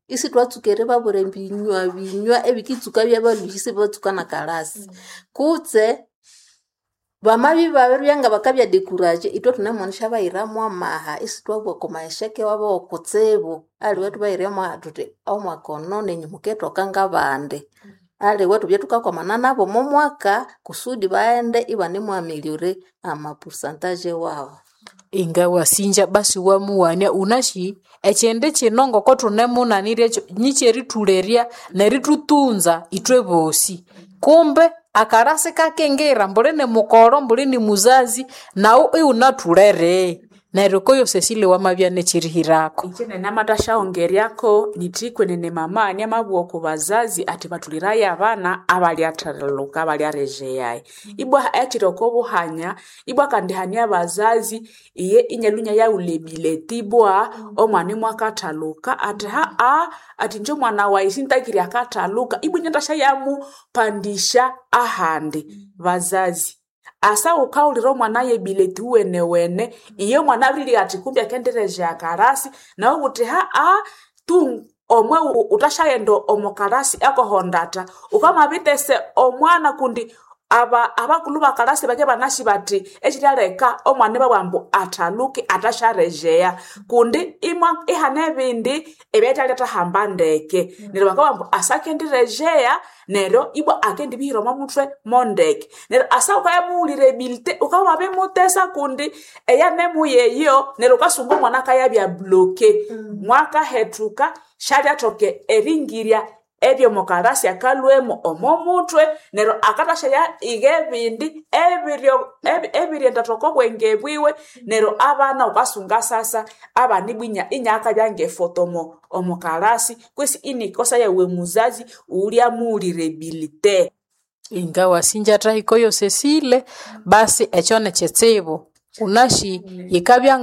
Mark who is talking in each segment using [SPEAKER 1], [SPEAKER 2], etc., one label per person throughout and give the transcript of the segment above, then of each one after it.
[SPEAKER 1] Isithwatsuka eribabwira ebinywa binywa ebikitsuka byabalhuhya isibatsuka nakalasi. Kutse bamabya ibabiribya ngabakabya découragé, ithwe thunemuwanisyabayiramu amaha isithwabugha okwa magheseke wabo wokutsibu. Aliwe ithubayiremo thuthi omwaka ono nenyu mukethoka ngabandi. Aliwe ithubye thukakwamana nabo omo mwaka kusudi baghende ibanemwameliore ama pourcentage wabo.
[SPEAKER 2] Ingawasinja basi wamuwania unasi ekyindi kino ngoko thunemunaniryekyo nikyerithulerya nerithutunza ithwe bosi. Kumbe akarasi kakingira mbuli ni mukoro mbuli ni muzazi naghu ighunatholere. Neryo koyo Cecile wamabya nekyerihirako.
[SPEAKER 3] Inje namathasyaghongeryako nyithi kwenene mama niamabugha oko bazazi athi bathuliraye abana abalyathalhuka abalyarejeyaye. Ibwa ekyiri oko buhanya, ibwa kandi hane abazazi iye inyalhwa inyayaghulha ebileti ibwa omwana imwakathaluka athi haaa athi inje omwana wayi sintakire akathaluka ibwa inyandiasyayamupandisya ahandi. Bazazi, asa ghukawulira omwana yebileti wuwenewene iye omwana abirilhya athi kumbi akendirejeya akarasi nawe wuthi haaa tu omwe ghuthasyaghenda omo kalasi akohondatha wukamabithesa omwana kundi abakulhu bakalasi bakibya ibanasi bathi ekiryaleka omwana ibabugha ambu athaluke athasyarejeya kundi imwa ihane ebindi ebyathalyathahamba ndeke neryo bakabugha ambu asa akendirejeya neryo ibwa akendibihira omo muthwe mondeke neryo asa ghukabya ebilite ghukabya wabimutesa kundi eyanemuyeyo neryo ghukasunga omwana akayabya bloqué mwakahethuka syalyathoka eringirya ebyomo kalasi akalhwemo omo muthwe neryo akathasyaya igha ebindi ebiryendathoka obwenge bwiwe neryo abana ghukasunga sasa abana ibwa inyakabya ngefoto omo kalasi kwesi inikosa yawe muzazi ghulyamughulira ebilite.
[SPEAKER 2] Ingawasinja athahikayo Cecile basi ekyo nikyitsibu. Wunasi yikabya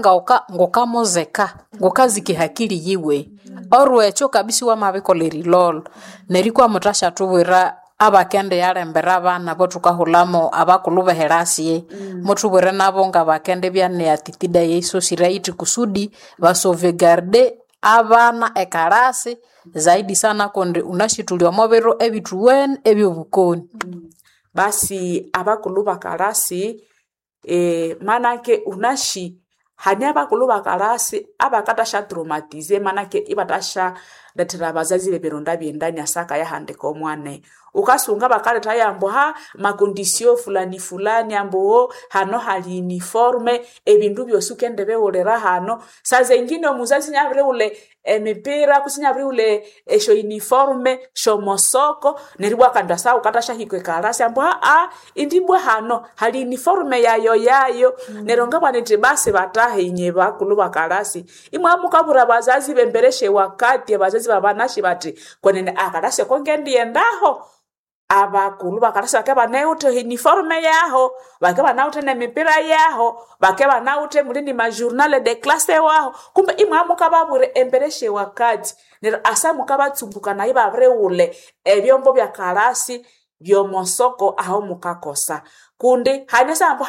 [SPEAKER 2] ngukamuzika, ngukazika ehakili yiwe. Orwekyo kabisa iwamabikolha erilolho. Neryo ikwa muthasyathubwira abakendiyalembera abana abothukahulhamu abakulhu behirasi, muthubwire nabo ngabakendibya ne attitude eyisosire yithi kusudi basauvegarde abana ekalasi zaidi sana kundi wunasi thuli omo biro ebithuwene ebyobukoni.
[SPEAKER 3] Basi abakulhu bakalasi manake wunasi hane abakulhu bakalasi abakathasya traumatize manake ibathasyalethera abazazi bebironda byendani asa akayahandika omwana. Ghukasunga bakalethayo ambu macondition fulani fulani ambu hano hali uniforme ebindu byosi ghukendibighulira hano. Sazengine omuzazi inabirighulha emipira kutse inabirighulha esyo uniforme syomosoko neryo ibwa kandi asa ghukathasyahika ekalasi ambu indi ibwa hano hali uniforme yayo yayo. Neryo ngabugha nyithi basi bathahi inye bakulhu bakalasi imwabya mukabwira abazazi b'embere syewakati abazazi babanasi bathi kwenene akalasi ako ngendiyendaho abakulhu bakalasi bakabya ibanawithe uniforme yaho, bakabya ibanawithe nemipira yaho, bakabya ibanawithe muli ni majournal de classe waho kumbe imwabya mukababwira embere syewakati neryo asa mukabatsumbukanaya ibabirighulha ebyombo byakalasi byomosoko aho mukakosa. Kundi hane esaha ambu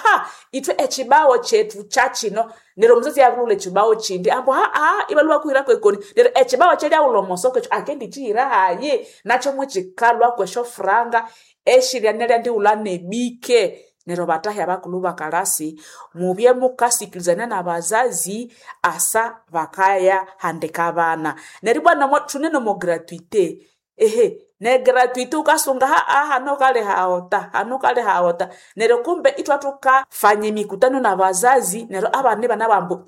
[SPEAKER 3] ithwe ekibawo kyethu kyakyino neryo omuzazi abirighulha ekibawo kyindi ambu ibalhwa bakuhirako ekoni neryo ekibawo ekyalyaghulha omosoko ekyo akendikyihira hayi nakyo mukikalhwako esyofuranga esyiryanalyandighulha nebike. Neryo bathahi abakulhu bakalasi mubye mukasikirizania nabazazi asa bakayahandika abana. Neryo ibwa thune nomo gratuité ne gratuité ghukasunga hano ghukalihawota hano ghukalihawota neryo kumbe ithwathukafanya emikutano nabazazi neryo abana ibanabugha ambu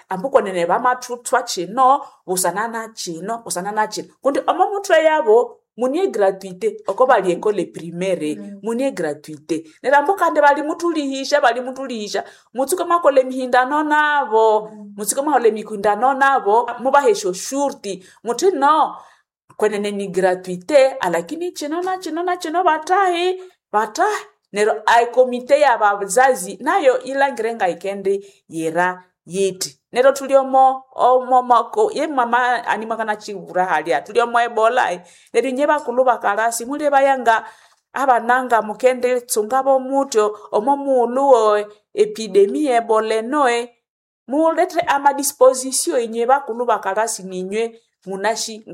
[SPEAKER 3] ambu kwenene bamathuthwa kino busana nakino busana nakino kundi omo muthwe yabo mune egratuité oko bali ekole primaire mune egratuité. Neryo ambu kandi balimuthulihisya balimuthulihisya mutsuke mwakolha emihindano nabo mutsuke mwakolha emihindano nabo mubahe esyoshurti muthi no kwenene ni gratuité alakini kino nakino nakino bathahi bathahi. Neryo ekomite yabazazi nayo yilhangire ngayikendiyira yithi. Neryo thuli omo ye mama ani mwakanakyibwira halya thuli omo ebola neryo inye bakulhu bakalasi mulebaya nga abana nga mukenditsungabo muthyo omo mughulhu epidemia ye ebola eno mulethe amadisposition inye bakulhu bakalasi ninywe. Munashi nga.